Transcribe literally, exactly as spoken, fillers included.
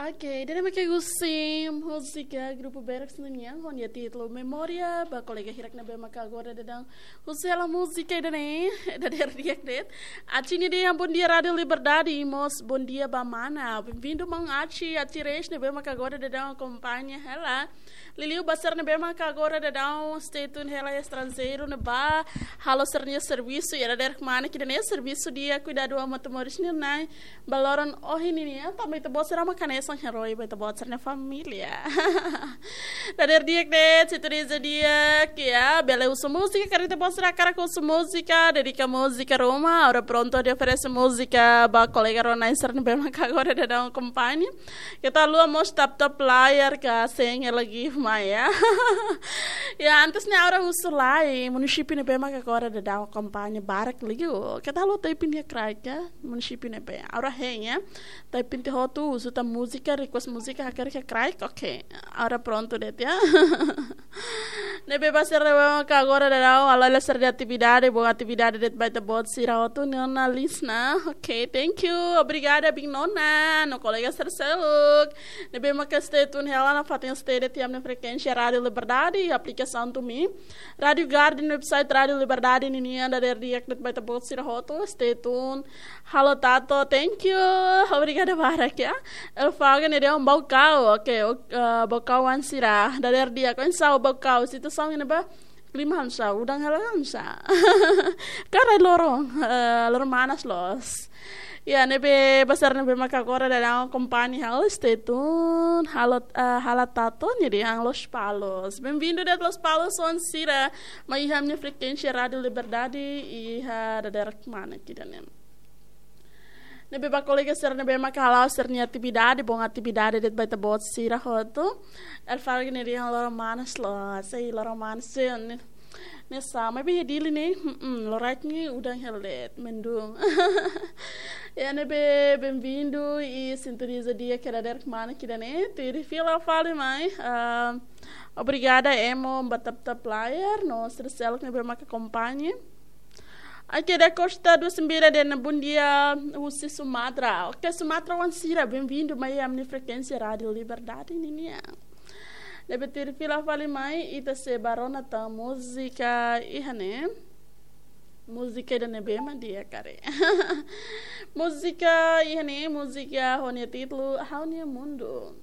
Oke, ida-ne'e mak husi múzika grupu Beraks nian, ho nia títulu Memória, ba kolega hirak ne'ebé maka agora daudaun husu hela múzika ida-ne'e, dadeer di'ak de'it. Aci nian dehan bom dia Rádio Liberdade, i mós bom dia ba mana. Bem-vindo, maun Aci, Aci Reis ne'ebé maka agora daudaun akompaña hela. Liuliu ba sira ne'ebé maka agora daudaun stay tune hela iha estranjeiru ne'ebá halo sira-nia servisu, i dadeer kmanek ida-ne'e servisu di'ak kuidadu amu atu moris nian nai. Ba loron ohin nian, tanba ita-boot sira maka hanesan herói ba ita-boot sira-nia família. Dadeer di'ak de'it, sintoniza di'ak, ya, bele husu múzika, karik ita-boot sira hakarak husu múzika, dedika múzika ruma, ha'u prontu atu oferese múzika ba kolega rona sira ne'ebé maka agora daudaun akompaña. Keta haluha mós tap-tap layar ka sente lagi mai, ya. Ya, antes ne'e ha'u husu lai, munisípiu ne'ebé maka agora daudaun akompaña barak liu. Keta haluha typing iha kraik, ya, munisípiu ne'ebé. Ha'u hein, ya. Typing tiha hotu, husu tan múzika, request múzika, hakarak iha kraik, oke. Ha'u prontu de'it, ya. Ne'ebé ba sira ne'ebé maka agora daudaun, halo hela sira-nia atividade, bom atividade de'it ba ita-boot sira hotu, Nona Lisna. Oke, thank you. Obrigada, biin Nona, no kolega sira seluk ne'ebé maka stay tune hela nafatin stay de'it iha ami-nia frekuénsia Rádio Liberdade, aplikasaun TuneIn, Rádio Garden, website Rádio Liberdade ninian, dadeer di'ak de'it ba ita-boot sira hotu, stay tune. Halo Tato, thank you. Obrigada barak, ya. Elfaga ne'e dehan Baucau. Oke, ok, eh, Baucau oan sira. Dadeer di'ak, oinsá Baucau? Situasaun ne'ebá, klima oinsá, udan hela oinsá? Karik loron, eh, loron manas loos. Ya, ne'ebé ba sira ne'ebé maka agora daudaun akompaña ha'u, stay tune. Halo, eh, Halo Tato, ne'e dehan Lospalos. Bem-vindo de'it Lospalos oan sira, mai iha ami-nia frekuénsia Rádio Liberdade, iha dadeer kmanek ida-ne'e. Ne'ebé ba kolega sira ne'ebé maka hala'o sira-nia atividade, bom atividade de'it ba ita-boot sira hotu. Elfaga ne'e dehan loron manas loos, sei loron manas, sei ne'e, ne'e sama, be Dili ne'e, mm, loraik ne'e udan hela de'it, mendung. Ya, ne'ebé bem-vindo i sintoniza di'ak iha dadeer kmanek ida-ne'e, tuir fila fali mai, ah, obrigada emo ba tap-tap layar, no sira seluk ne'ebé maka akompaña. Oke, Da Costa dua sembilan dehan bom dia husi Sumatra. Oke, Sumatra oan sira, bem-vindo mai ami-nia frekuénsia Rádio Liberdade ninian. Ne'ebé tuir fila fali mai, ita sei ba rona tan múzika iha ne'e. Múzika ida-ne'ebé mak di'ak karik. Múzika iha ne'e, múzika ho nia títulu Ha'u-nia Mundu.